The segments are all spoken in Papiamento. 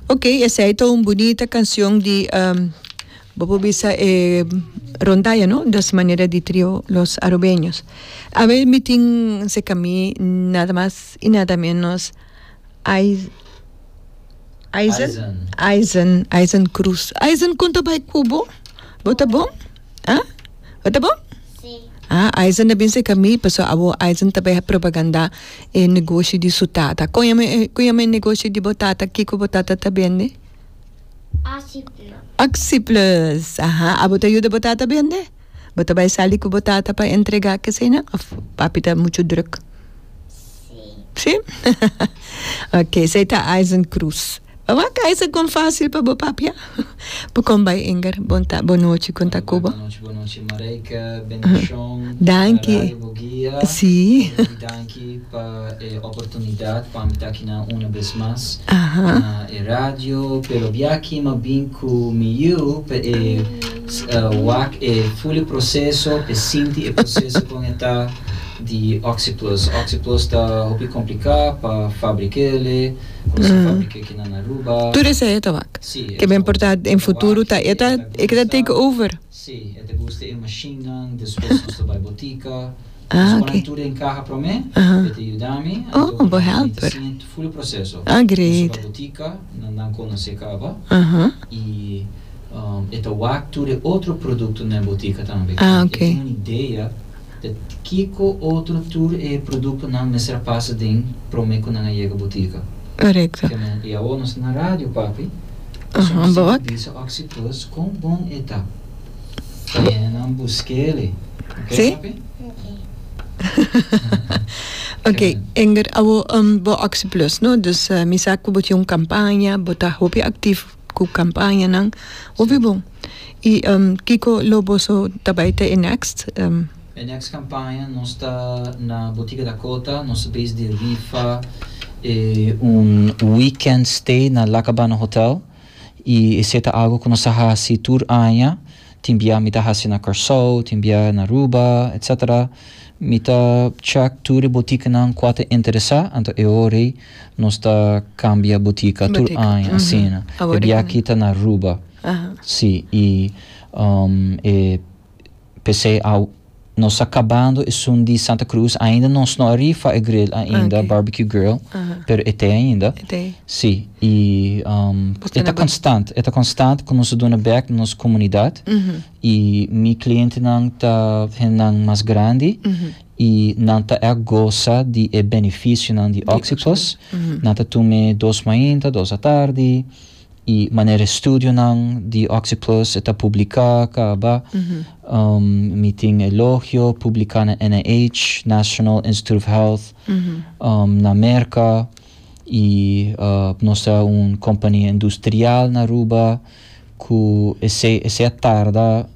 Ok, esei ta un bunita cancion di bo por bisa e rondalla no, dos manera di trio Los Arubeños. Awe mi tin cerca mi nada mas y nada menos Aizen, Aizen, Aizen Cruz. Aizen con ta bay cu bo? Bo ta bon? Ah? Bo ta bon? Sí. Ah, Aizen a bin cerca mi, pasobra abo Aizen ta bay propaganda e negoshi di su tata. Con yama e, con yama e negoshi di bo tata? Kico bo tata ta bende? Oxyplus. Oxyplus, aha. Abo ta yuda bo tata bende? Bo ta bay sali cu bo tata pa entrega keseynan of papi ta mucho druk? Sí. Sí? Ok, esey ta Aizen Cruz. Bo wak Aizen kon fácil pa bo papia? Bo kon bai Inger? Bon ta, bon nochi kon ta ku bo? Bon nochi, bon nochi Marijke, bendishon. Danki. Radio Boguia. Sí. Hopi danki pa e oportunidat pa mi ta akinan una bes mas na e radio, pero biaha mi a bin ku mi yu pa e wak e ful e proseso, pa e sinti e proseso kon e ta. Di Oxyplus. Oxyplus ta hopi complica pa fabrikele, cu nos a fabrike aki na Aruba. Tur esei e ta wak. Si, Ke ben por ta den futuro ta e ta e ta take over. Si, e ta gusta e machinenan, despues nos ta bai botica. Ah, Nos ok. pone tur den caha prome, e ta yuda mi, Oh, anto bo mi ta helper. siña full e proceso. Ah, great. Nos ta bai botica, nan nan conoce caba. Y e ta wak tur e otro productonan den botica tambe. Ah, ok. E tin un idea. Ta kiko otro tur e produktonan mester a pasa den prome ku nan a yega botika? Korekto. Kemen, i awor nos ta na radio, papi. Aha, Pasobra bo wak. bisa Oxyplus kon bon e ta. Pa hendenan busk'el. Oké, Sí? papi? Oké, Inger, awor bo Oxyplus, no? Dus mi sa ku bo tin un kampaña, bo ta hopi aktif ku kampañanan. Hopi bon. I kiko lo boso ta bai ta e next? E next kampaña nos ta na Botica Dakota, nos ta bezig di rifa e un weekend stay na La Cabana Hotel i esei ta algo ku nos ta hasi tur aña, tin bia mi ta hasi na Kòrsou, tin bia na Aruba etcetera. Mi ta check tur e botikanan kua ta interesá, anto e ora ei nos ta kambia botika tur aña asina. E bia aki ta na Aruba. Sí, i e p'esei aw nos ta kabando esun di Santa Cruz, ainda nos no a rifa e grill ainda, barbecue grill, pero e t'ei ainda. Sí, i e ta konstant, e ta konstant ku nos ta duna bèk na nos komunidat i mi klientenan ta hendenan mas grandi i nan ta ègt gosa di e benefisionan di Oxyplus. Nan ta tum'é dos mainta, dos atardi. I manera e studionan di Oxyplus e ta publiká kaba. Mi tin elogio publiká na NIH, National Institute of Health, na Merka. I nos ta un kompania industrial na Aruba ku esei esei a tarda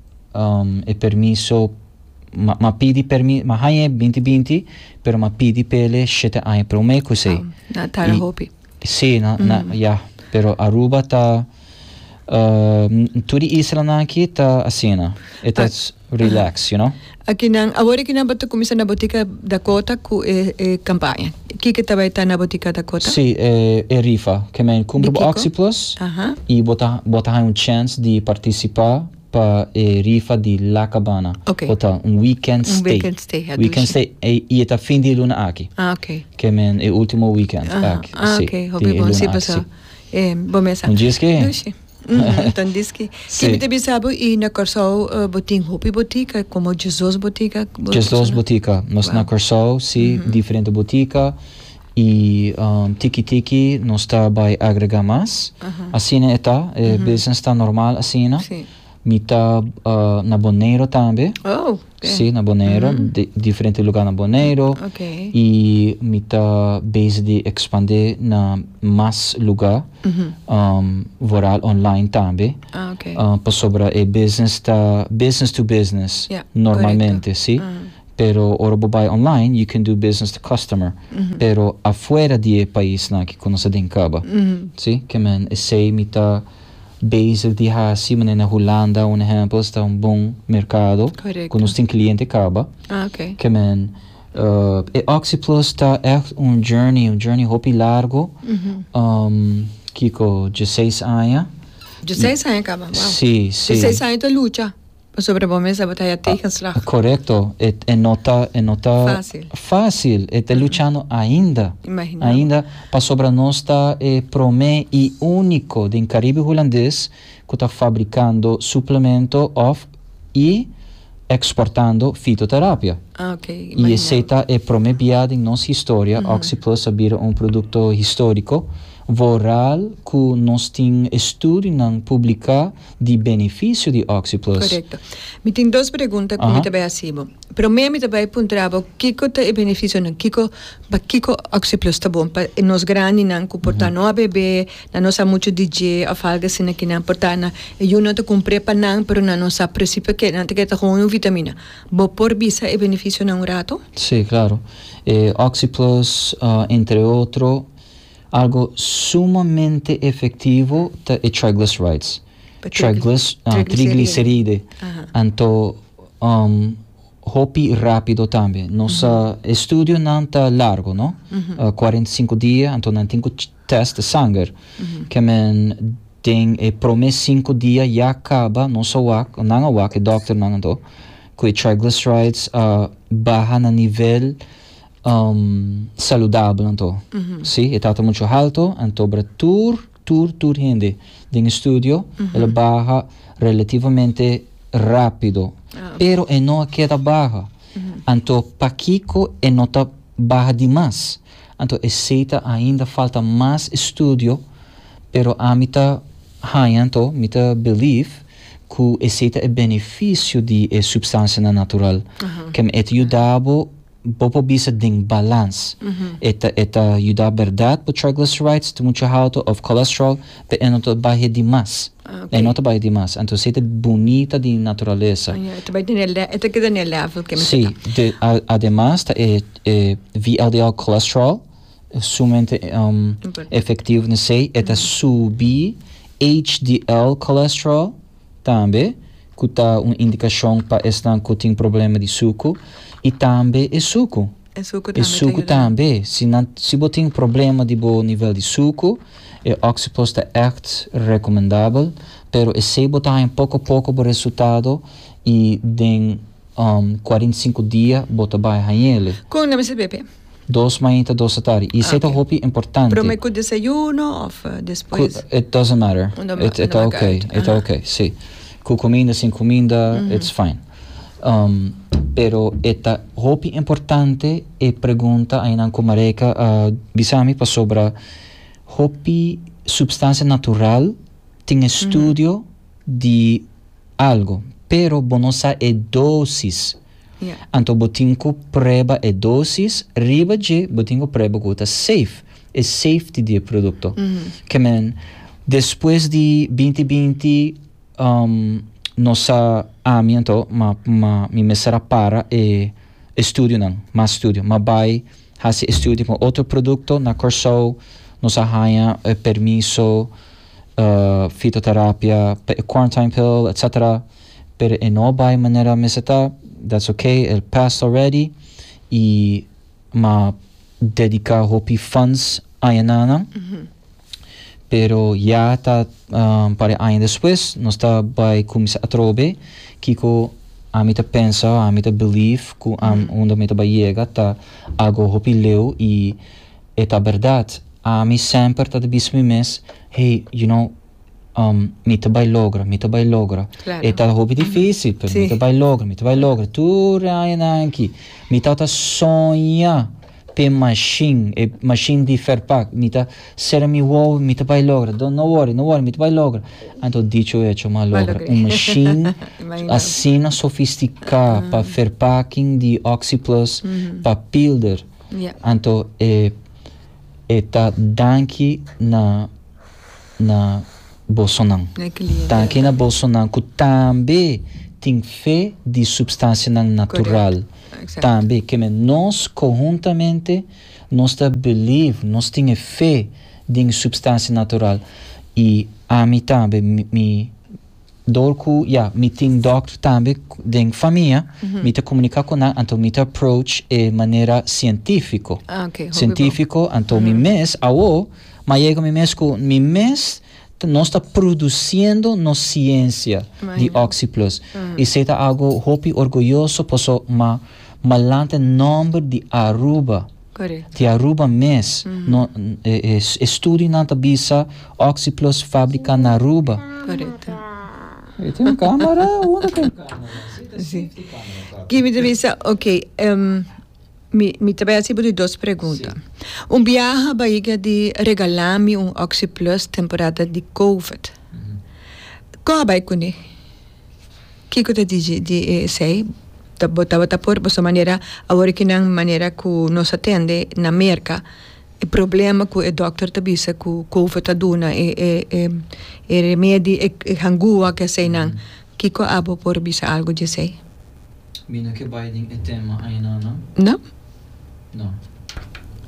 e permiso m'a pidi permi m'a haña e binti binti pero m'a pidi p'el shete aña promé ku esei. A tarda hopi. Sí, na, na, ya. Pero Aruba ta, tur di islanan aki ta asina. E ta relax, you know. Akinan, awor akinan bo ta kuminsá na Botica Dakota ku e e kampaña. Kiko ta bai ta na Botica Dakota? Sí, e e rifa. Ke men kumpra bo Oxyplus i bo ta bo ta haña un chèns di partisipá pa e rifa di La Cabana Hotel, un weekend Un stay. weekend stay, ja, Weekend dushi. stay, e, i e ta fin di e luna aki. Ah, ok. Ke men e ultimo weekend Aha, aki, ah, si, ok, di hopi e bon, luna si, aki, paso si. e bo mesa. Un diski? Dushi. Mhm, ta un diski. Si. Ki mi ta bisa bo, i na Kòrsou bo tin hopi botika, komo 12 botika bo 12 botika. Nos na Wow. Kòrsou, si, diferente botika. I tiki tiki nos ta bai agrega mas. Asina e ta, e business ta normal asina. Mi ta na Boneiro tambe. Si, na Boneiro, diferente lugar na Boneiro. I mi ta bezig di expande na mas lugar, vooral online tambe. Pasobra e business ta business to business normalmente, si. Pero ora bo bai online you can do business to customer pero afuera di e paisnan aki ku nos a den kaba si ke men esei mi ta bezig di hasi manera na Hulanda un ehempel esta un bon merkado ku nos tin kliente kaba ke men e Oxyplus ta ègt un journey un journey hopi largo. Kiko, 16 aña. 16 aña kaba, wow. Sí, sí. 16 aña ta lucha pasobra bo mes tabata haya tegenslag. Korekto, e e no ta e no ta Fácil. fácil, e ta luchando ainda. Imagina. Ainda pasobra nos ta e promé i úniko den Karibe Hulandes ku ta fabrikando suplemento òf i eksportando fitoterapia. Ah, ok, I imagina. esei ta e promé bia den nos historia, Oxyplus a bira un produkto históriko, vooral ku nos tin estudionan publiká di benefisio di Oxyplus. Korekto. Mi tin dos pregunta ku mi ta bai hasi bo. Promé mi ta bai puntra bo kiko ta e benefisionan, kiko, pa kiko Oxyplus ta bon pa nos grandinan ku por ta no a bebe, Nan no sa muchu di dje of algu asina ki nan por ta na e yu no ta kumpr'é pa nan pero nan no sa presi p'e nan ta kere ta gewoon un vitamina. Bo por bisa e benefisionan un rato? Sí, claro. E Oxyplus, entre otro, algo sumamente efectivo ta e triglycerides. Triglyc, trigliceride. Anto, Hopi rapido tambe. Nos estudionan ta largo, no? 45 dia, anto nan tin ku test de sanger. Ke men den e prome 5 dia ya kaba nos a wak, nan a wak, e dokternan anto, ku e triglycerides a baha na nivel saludabel anto. Si, e tabata mucho halto, anto bra tur, tur, tur hende den e studio el a baha relativamente rápido, pero e no a keda baha. Anto pakiko e no ta baha di mas? Anto esei ta ainda falta mas estudio, pero ami ta haña anto, mi ta believe ku esei ta e benefisio di e supstansianan natural. Kem e ta yuda bo Bo por bisa den balans. E ta e ta yuda berdad bo triglycerides ta mucho halto of cholesterol pe e no ta bahe di mas. E no ta bahe di mas. Anto esey ta bunita di naturalesa. Ah ya, e ta bai den e e ta keda den e level ke mester Si, ta. de ademas ta e e VLDL cholesterol sumamente efectivo nesey. E ta subi HDL cholesterol. Tambe ku ta un indikashon pa esnan ku tin problema di suku i tambe e suku. E suku E tambe ta suku yuda. tambe. Si nan si bo tin problema di bo nivel di suku, e Oxyplus ta ègt rekomendabel, pero esei bo ta haña poko poko bo resultado i den 45 dia bo ta bai hañ'ele. Kon nan mester bebe? Dos mainta, dos atardi. I esei ta Ok. hopi importante. Prome ku desayuno of Ku, despues? it doesn't matter. No ma, It, no it ta maak ok, uit. it ta Aha. ok, si. Ku kuminda, sin kuminda, it's fine. Pero e ta hopi importante e pregunta einan ku Marijke a bisa mi pasobra hopi supstansia natural tin estudio di algo, pero bo no sa e dosis. Anto bo tin ku prueba e dosis, riba dje bo tin ku prueba ku ta safe, e safety di e produkto. Ke men, despues di binti binti nos a, ami anto, ma ma mi mester a para e estudionan, mas studio. M'a bai hasi estudio ku otro produkto na Kòrsou, nos a haña e permiso, fitoterapia pa e quarantine pill, etcetera. Pero e no bai manera mester ta, that's ok, el passed already y m'a dedica hopi funds aña na nan. Pero ya ta un par di aña despues nos ta bai cuminsa atrobe kico ami ta pensa, ami ta believe cu unda mi ta bai yega ta algo hopi leu y e ta berdad. Ami semper ta bisa mi mes, hey, you know, mi ta bai logra, mi ta bai logra. Claro. E ta hopi difícil, pero mi ta bai logra, mi ta bai logra. Tur e añanan aki, mi tabata soña p'e machine, e machine di verpak. Mi ta cera mi wowo, mi ta bai logra. Don't, no worry, no worry, mi ta bai logra. Anto dicho hecho, m'a logra. Un machine asina sofisticá pa verpakking di Oxyplus, pa pilder. Anto e, e ta danki na. na bosonan. Danki na bosonan ku tambe tin fe di supstansianan natural. Tambe ke men nos konhuntamente nos ta believe, nos tin e fe den supstansia natural i ami tambe mi dor ku ya mi tin dòkter tambe den famia mi ta komuniká ku nan anto mi ta approach e manera sientífiko. Sientífiko anto mi mes awo. Ma yega mi mes ku mi mes nos ta produciendo nos ciencia di Oxi Plus. Y esey ta algo hopi orguyoso paso ma malante nomber di Aruba. Di Aruba mes. No, e estudionan ta bisa Oxi Plus fabrica na Aruba. E tin un camera? Unda tin camera? Si. Kimi ta bisa, ok, mi, mi ta bai hasi bo di dos pregunta. Un biaha Bahiga di regala mi un Oxi Plus temporada di Covid. Kon a bai kuné? Kiko ta digi di esei? Ta bo tabata por pasobra manera awor ki nan manera ku nos a tende na Merka e problema ku e dòkter ta bisa ku Covid ta duna e e e e remedi e e hangua ke eseinan. Kiko abo por bisa algu di esei? Mi no ke bai den e tema aina no. No? No.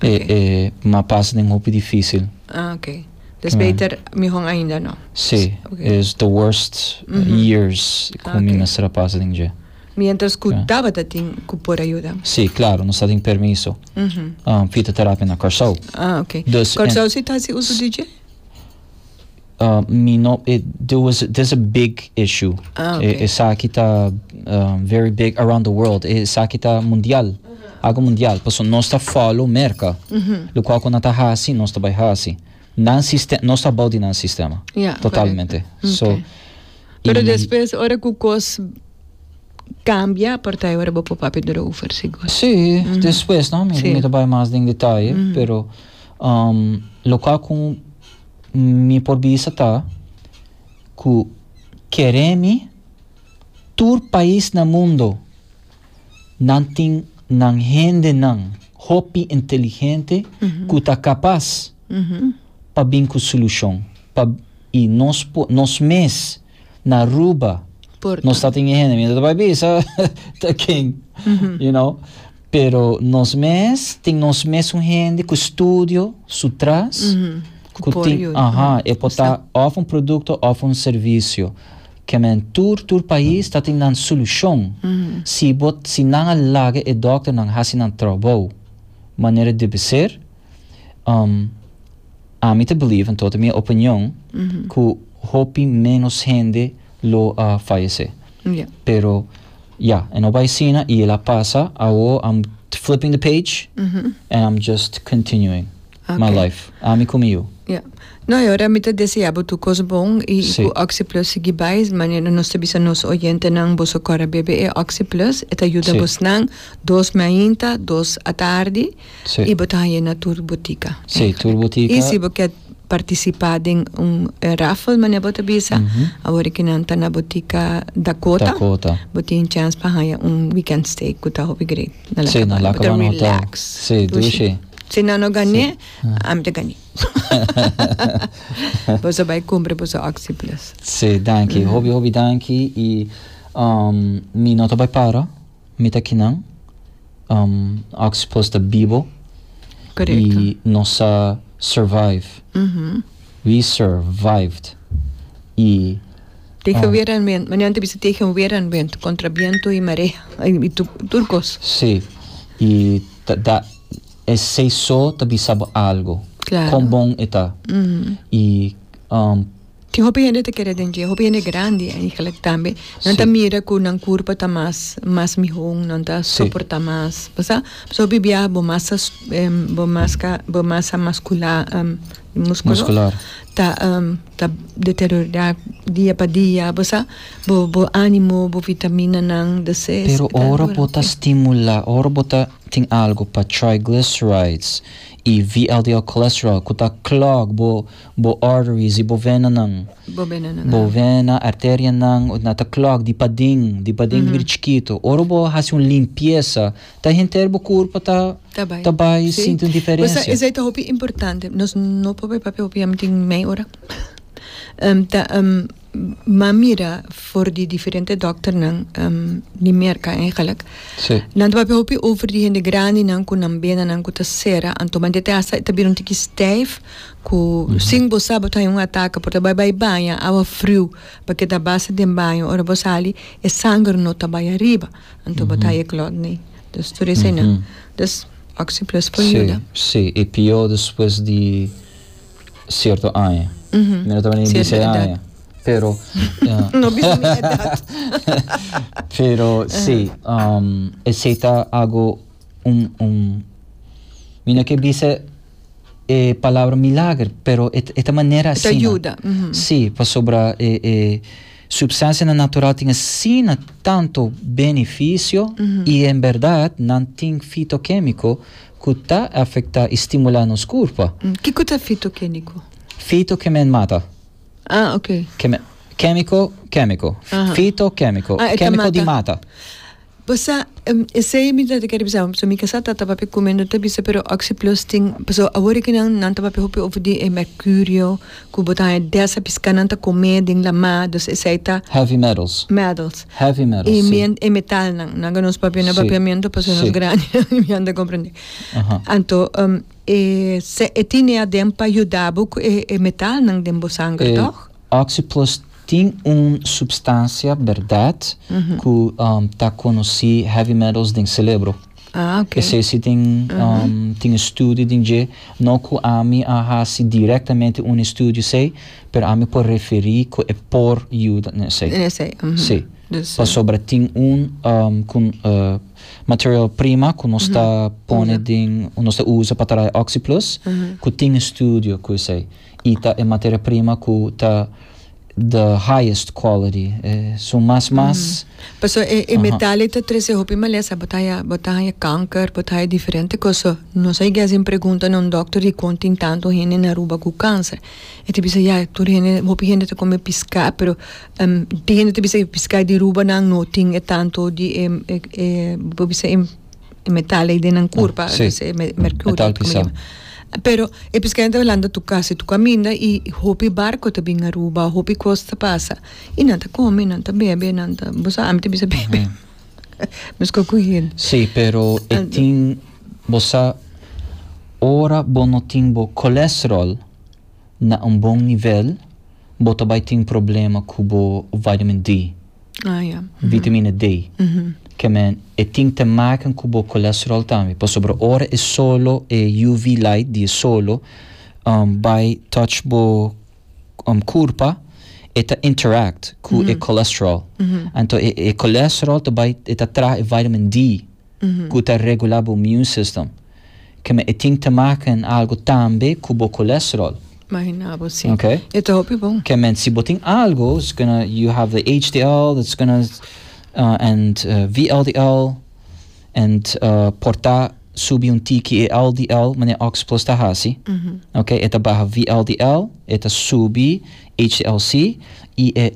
E e ma pasa den hopi dificil. Ah ok. Dus beter mihon ainda no. Si. Is the worst years ku mi mester a pasa den dje. Mientras ku tabata tin ku por a yuda. Si, claro, nos ta tin permiso. Fitoterapia na Kòrsou. Ah ok. Kòrsou si ta hasi uso di dje? Mi no, it, there was, there's a big issue. Ah, okay. Esaki ta very big around the world. Esaki ta mundial. Algo mundial. Pasobra nos ta follow Merca. Locual cu nan ta haci, nos ta bay haci. Nan sistema, nos ta abou di nan sistema. Ja, Totalmente. correcto. So, Okay. Pero y despues ora cu cos cambia, por ta ora bo por papia erover, sigur. Sí, despues, no? Mi, Sí. mi ta bay mas den detaye, pero locual cu Mi por bisa ta ku kere mi tur pais na mundo nan tin nan hendenan hopi inteligente ku ta kapas pa bin ku solushon pa i nos por nos mes na Aruba nos ta tin e hende mi no ta bai bisa ta ken you know pero nos mes tin nos mes un hende ku studio su tras ku tin aha e por ta of un produkto of un servisio ke men tur tur pais ta tin nan solushon si bo si nan a laga e dòkternan hasi nan trabou manera debe ser Ami ta believe, anto ta mi opinion, ku hopi menos hende lo a fayesé. Pero, ya, e no bai asina i el a pasa. Awo I'm flipping the page and I'm just continuing my life. Ami ku mi yu. Ya. No, e ora mi ta desea bo tur kos bon i ku Oxi Plus sigui bai. Manera nos ta bisa nos oyentenan, boso kòrda bebe e Oxi Plus. E ta yuda bosnan dos mainta, dos atardi. Sí. I bo ta haña na tur botika. Sí, tur botika. I si bo ke partisipá den un raffle, manera bo ta bisa, awor ki nan ta na botika Dakota. Dakota. Bo tin chèns pa haña un weekend stay ku ta hopi great. Na Sí, na Bo ta Lacabana Hotel. relax. Sí, dushi. Si nan no gané, ami ta gané. Boso bai kumpra boso Oxi Plus. Sí, danki. Hopi, hopi danki. I mi no ta bai para. Mi ta kinan. Oxi Plus ta bibo. Correcto. I nos a survive. We survived. I. Tegen weer en wind. Meneer ta bisa tegen weer en wind. Contra biento i marea. I tur cos. Sí. I ta da esei so ta bisa bo algo. Claro. Kon bon e ta. I. Tin hopi hende ta kere den dje, hopi hende grandi eigenlijk tambe. Nan ta mira ku nan kurpa ta mas mas mihó, nan ta soportá mas. Bo sa? Pasobra hopi biaha bo masa bo maska bo masa maskulá muskulo Muskular. ta ta deteriorá dia pa dia. Bo sa? Bo bo ánimo, bo vitaminanan, dus Pero ora bo ta stimulá, ora bo ta tin algu pa triglycerides i VLDL cholesterol ku ta clog bo Bo arteries i bo venanan. Bo venanan, Bo vena, arterianan, na ta clog di paden, di paden mm -hmm. chikito. Ora bo hasi un limpieza, ta henter bo curpa ta, ta bai, ta bai sí. sinti un diferencia. Pues, esei ta hopi importante. Nos no por bai papia hopi, ya tin mei ora. Ta, M'a mira for di diferente dokternan di Merka eigenlijk. Sí. Nan ta papia hopi over di hende grandinan ku nan benanan ku ta sera. Anto man te hasta e ta bira un tiki stijf ku sin bo sa bo ta haña un ataka por ta bai bai baña awa friu pa keda basta den baño ora bo sali e sanger no ta bai ariba. Anto bo ta haña e klòt nei. Dus tur eseinan. Dus Oxi Plus por Sí, yuda. sí. E pió despues di. cierto aña. Mi no ta bini Cierto bisa edad. aña. Pero, No bisa mi edad. Pero si, esey ta algo un un mi no ke bisa e palabra milager, pero e e ta manera E ta asina. yuda, ujú. Si, pasobra e e substancianan natural tin asina tanto beneficio y en berdad nan tin fitokemico cu ta afecta y stimula nos curpa. Kico ta fitokemico? Fito ke men mata. Ah, ok. Ke men, kemiko, kemiko. Aha. Fito, kemiko. Ah, e ta Kemiko di mata. mata. Bo sa, esei mi ta kere bisa, so mi kasá ta papia ku mi, no ta bisa pero Oxyplus tin, pasobra awor aki nan, nan ta papia hopi over di e mercurio ku bo ta haña desa piská nan ta kome den lamá, dus esei ta. Heavy metals. Metals. Heavy metals, E si. men, e metalnan. Nan ku nos papia na Si, papiamentu pasobra nos si. grandi mi anda komprendé. Aha. Anto, e se e tine aden pa yuda bo ku e e metalnan den bo sanger, E tòg? Oxyplus tin un substancia berdad cu ta conoci heavy metals den celebro. Ah, ok. Esey si tin tin estudio den dje, no cu ami a haci directamente un estudio esey, pero ami por referi cu e por yuda den esey. Den esey, mhm. Si. Dus. Pasobra tin un cu material prima cu nos ta pone den, nos ta usa pa traha Oxyplus, cu tin estudio cu esey. Y ta e materia prima cu ta the highest quality, su mas mas. Paso e e metal ei ta trece hopi malesa, bo ta haya bo ta haya kanker, bo ta haya diferente cos, so nos a yega haci pregunta na un dokter dicon tin tanto hende na Aruba cu cancer, e ta bisa ya tur hende hopi hende ta come pisca pero tin hende ta bisa e pisca di Aruba nan no tin e tanto di e e bo bisa e e metal ei den nan curpa, Sí. e mercurio. Metal pisa. Pero e piscador ta landa tu casi tu caminda y hopi barco ta bin Aruba, hopi cos ta pasa. Y nan ta come, nan ta bebe, nan ta, bo sa ami ta bisa bebe. Mesco cu hende. Sí, pero e tin, bo sa, ora bo no tin bo cholesterol na un bon nivel, bo ta bay tin problema cu bo vitamin D. Ah, ja. Vitamina D. Ke men e tin te maken ku bo cholesterol tambe. Pasobra ora e solo, e UV light di e solo um bai touch bo um kurpa, e ta interact ku e cholesterol. Anto e e cholesterol ta bai e ta traha e vitamin D ku ta regula bo immune system. Ke men e tin te maken algo tambe ku bo cholesterol. Imagina bo si. Okay. E ta hopi bon. Ke men si bo tin algo, it's gonna, you have the HDL that's gonna, uh, and uh, VLDL, and uh, por ta subi un tiki e LDL, manera Oxplus ta hasi. Okay, e ta baha VLDL, e ta subi HDLC, y e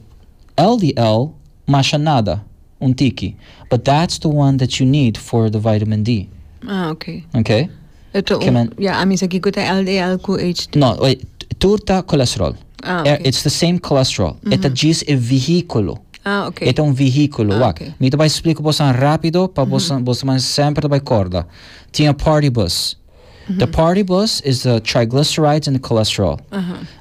LDL masha nada, un tiki. But that's the one that you need for the vitamin D. Ah, okay. Okay? E ta Ke un, men- ja, ami sa kiko ta LDL ku HD. No, wait, tur ta cholesterol. Ah, Eh, okay. It's the same cholesterol. E ta djis e vehículo. Ah, okay. E ta un vehículo. Ah, Wak, okay. mi ta bai splika bosan rápido pa bosan, bosan man semper ta bai korda. Tin a party bus. The party bus is the triglycerides and the cholesterol.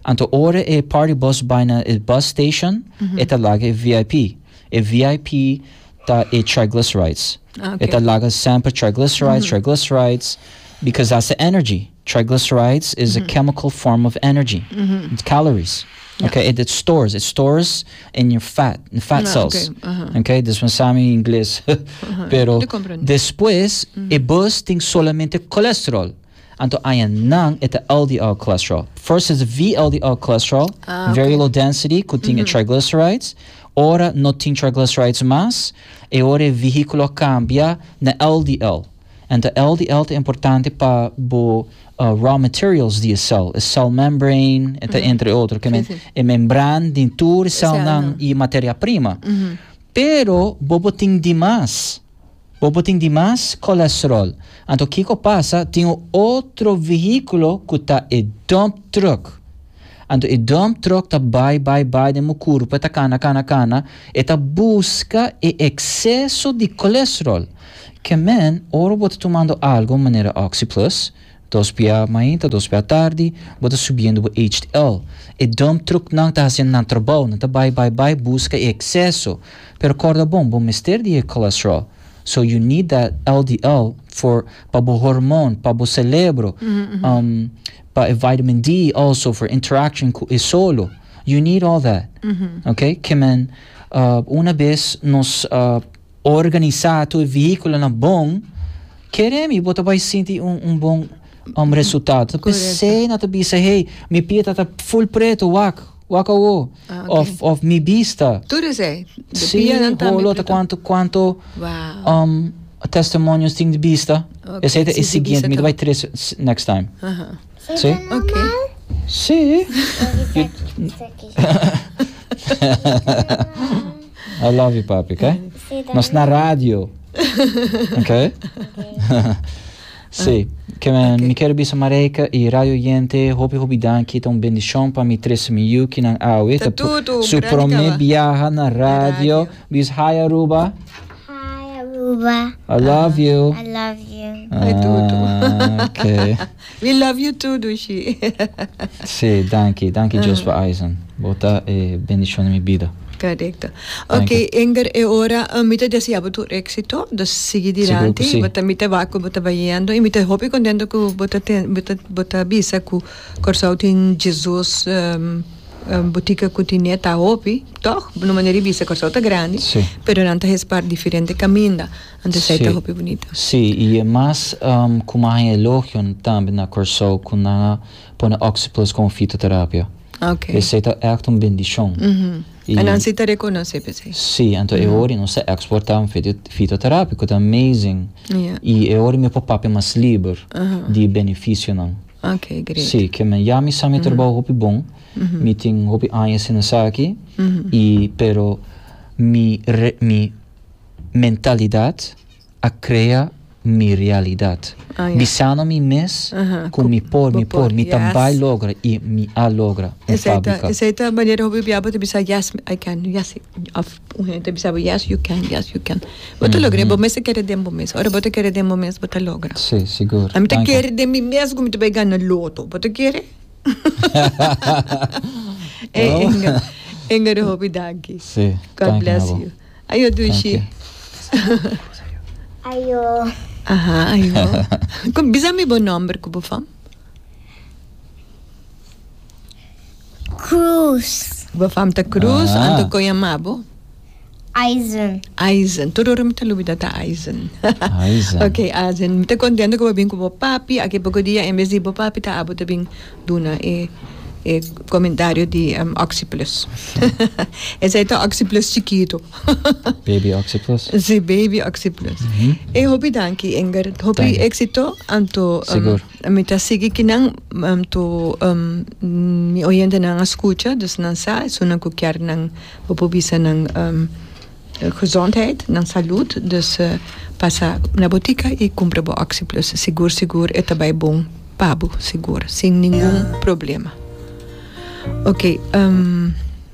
Anto ora e party bus bai na e bus station, e ta laga e VIP. E VIP ta e triglycerides. Ah, E ta okay. laga semper triglycerides, triglycerides, because that's the energy. Triglycerides is a chemical form of energy. It's calories. Okay, it, it stores. It stores in your fat, in fat Ah, cells. okay, aha. Okay, dus mi sa mi ingles. Pero Te comprendo. despues e bus tin solamente cholesterol. Anto aya nan e ta LDL cholesterol. First is VLDL cholesterol, Ah, very okay. low density, ku tin e triglycerides. Ora no tin triglycerides mas, e ora e vehiculo cambia na LDL. Anto LDL ta importante pa bo uh, raw materials di e cel, e cell membrane, eta entre otro, ke men, Sí, sí. e membran di tur cel Cel, nan nan. e materia prima. Pero bo bo tin dimas. Bo bo tin dimas cholesterol. Anto kiko pasa, tin un otro vehiculo ku ta e dump truck. Anto e dump truck ta bai bai bai den bo kurpa, ta kana kana kana, e ta buska e ekseso di cholesterol. Ke men, ora bo ta tumando algo manera Oxyplus, dos bia mainta, dos bia tardi, bo ta subiendo bo HDL. E dump truck nan ta hasiendo nan trabou, nan ta bai bai bai buska e ekseso. Pero korda bon, bo mester di e cholesterol. So you need that LDL for pa bo hormoon, pa bo celebro, um, Pa e vitamin D also for interaction ku e solo. You need all that. Okay? Ke men una bes nos organisá tur e vehíkulonan bon, kere mi bo ta bai sinti un un bon um resultado. P'esei nan ta bisa hey, mi pia ta ta full preto, wak, wak awo. Ah, okay. Of of mi bista. Tur esei. De Sí, pianan tambe holo ta preto. cuanto cuanto Wow. um testimonios tin di bista. Ok, Esei ta sí, e di siguiente, bista mi ta ta. bai trece next time. Aha. Sí? Ok. Sí. I love you, papi, okay? Nos na radio. Okay? Sí. Ke men, mi ker bisa Marijke i radio oyente, hopi hopi danki, ta un bendishon pa mi trese mi yukinan awe. Ta tutu, Su grandi prome kaba. biaha na radio. Radio. Bis hi Aruba. Hi Aruba. I love you. I love you. Hi, tutu. Ah, okay. We love you too, Dushi. Sí, danki, danki Dios pa Eisen. Bo ta e bendishon di mi bida. Correcto. Danki. Ok, Enger, e ora mi ta desea bo tur éxito, dus sigui Sigur ku dilanti, sí. bo ta mi ta wak ku bo ta bayendo i mi ta hopi contento ku bo ta ten bo ta bo ta bisa ku Kòrsou tin Jesus botica ku tin ta hopi, tòg? No manera di bisa Kòrsou ta grandi, Sí. pero nan ta hespar diferente kaminda, anto esei ta Sí. hopi bunita. Sí, i e mas ku mi a haña elogio tambe na Kòrsou ku nan a pone Oxyplus komo fitoterapia. Ok. Esei ta ègt un bendishon. I En nan si ta rekonosé p'esei. Sí, anto e ora nos ta eksportá un fitoterapia ku ta amazing. Ja. I e ora mi por papia mas liber di e benefisionan. Ok, great. Sí, ke men ya mi sa mi trabou hopi bon. Mi tin hopi aña sin esaki. I pero mi re mi mentalidat a krea mi realidat. Ah, ja. Bisando mi mes Aha, ku mi por, mi bo por, por, mi ta yes. bai logra i mi a logra un Esei ta, fábrika. esei ta manera hopi bia bo ta bisa yes I can, yes of un hende ta bisa bo yes you can, yes you can. Bo ta logra, bo mes ta kere den bo mes. Ora bo ta kere den bo mes bo ta logra. Sí, sigur. Ami ta Danki. kere den mi mes ku mi ta bai gana loto. Bo ta kere? Ey Oh. Inge, Inge hopi danki. Sí, God danki bless na bo. you. Ayo dushi. Ayo. Aha, ayo. Kom, bisa mi bo nomber ku bo fam. Cruz. Bo fam ta Cruz, Ah. anto kon yama bo? Eisen. Eisen. Tur ora mi ta lubida ta Eisen. Eisen. Ok, Eisen. Mi ta kontento ku bo bin ku bo papi. Aki poko dia en bes di bo papi ta abo ta bin duna e e comentario di Oxyplus. Esei ta Oxyplus chikito. Baby Oxyplus. Si, baby Oxyplus. E hopi danki Inger. Hopi Danki. éxito. Anto Sigur. mi ta sigui kinan anto mi oyentenan a scucha, dus nan sa esunnan cu kier nan bo por bisa nan gezondheid, nan salud, dus pasa na botica y cumpra bo Oxyplus. Sigur sigur e ta bay bon pa bo, sigur, sin ningun problema. Ok.